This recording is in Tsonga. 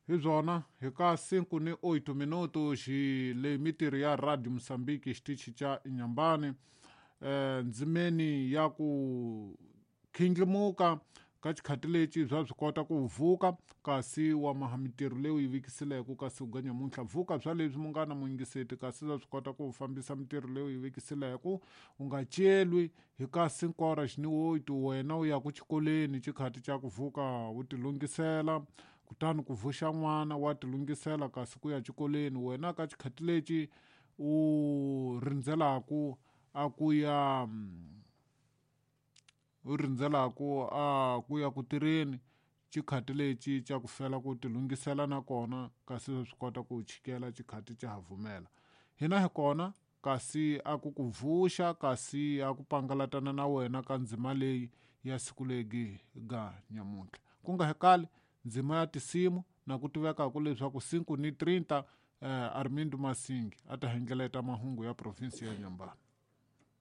Hi byona hi ka 5 ni 8 minuto xi le mitirho ya Radio Mozambique xitichi xa Inhambane ndzimeni ya ku khindlimuka ka xikhati lexi bya swi kota ku vuka kasi wa maha mitirho leyi u yi vikisileke kasi u ga nyamuntlha vuka bya leswi munghana muyingiseti kasi bya swi kota ku fambisa mitirho leyi u yi vikisileke u nga celwi hi ka 5 horas ni 8 wena u ya ku xikolweni xikhati xa ku vuka u tilungisela kutani ku vuxa n'wana wa tilungisela kasi ku ya xikolweni wena ka xikhati lexi u rindzelaku a ku ya u rindzelaku a ku ya ku tirheni xikhati lexi xa ku fela ku tilungisela nakona kasi swi kota ku chikela xikhati xa ha vumela hina hi kona kasi a ku ku vuxa kasi a ku pangalatana na wena ka ndzima leyi ya siku legi ga nyamuntlha ku nga hekali ndzima ya tinsimu na ku tivekaka leswaku 5 ni 30 Armindo Masingi a ta hengeleta mahungu ya provinsi ya Inhambane.